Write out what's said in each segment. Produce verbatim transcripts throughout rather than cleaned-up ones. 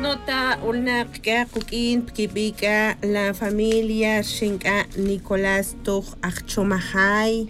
Nota, ulnaq k'a quk'in pkibi' k'a la familia rxin k'a nicolás toj ajchomajay.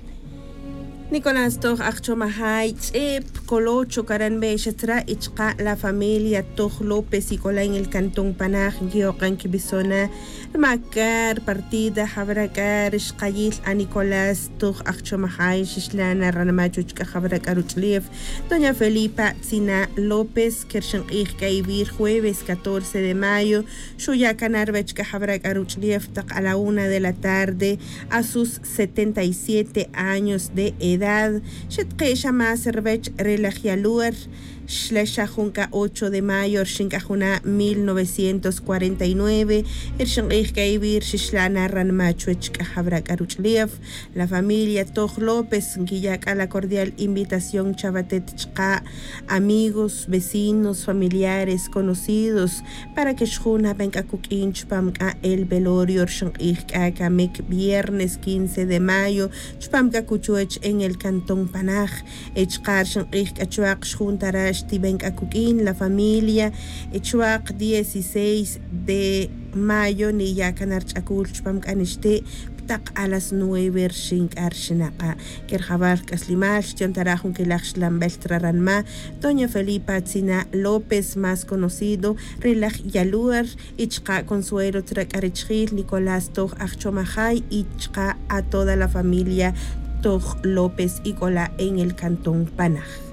Nicolás toj ajchomajay ch'e pkolocho karan be xatra y chqa' la familia toj lópez y k'ola en el cantón panaj nkiyoq'an kibisona rma k'a rpartida jabra k'a rixqayil a nicolás toj ajchomajay xixlana ranma' chuwech k'a jabra k'a ruch'ulef doña felipa tzina lópez kerxinq'ij k'a iwi' rjueves catorce de mayo. Xuya' kana' rwech k'a jabra k'a ruch'ulef taq a la una de la tarde a sus setenta y siete años de edad. Xetqe' xa más rwech re laj yaluer xla xa jun k'a ocho de mayo rxin k'a juna' mil novecientos cuarenta y nueve. Rxinq'ij k'a iwi' rxixlana ranma' chuwech k'a jabra k'a ruch'ulef la familia toj lópez nkiya' k'a la cordial invitación chawatet chqa' amigos vecinos familiares conocidos para que xjun naben k'a kuk'in chupam k'a el velorio rxinq'ij k'a kamik viernes quince de mayo chupam k'a kuchuwech en el cantón panaj. Chqa' rxinq'ij k'a chuwaq xjun tara' xtiben k'a kuk'in la familia. Chuwaq dieciséis de mayo niya' kana' rch'akul chupam k'a nixti' ptaq a las nueve rxin k'a rxinaq'a'. Kerjawal k'aslimal xtiyon tara' jun kelaj xlanbel traranma' doña felipa tzina lópez más conocido re laj yaluer y chqa' consuelo tra k'a richjil nicolás toj ajchomajay y chqa' a toda la familia toj lópez y k'ola en el cantón panaj.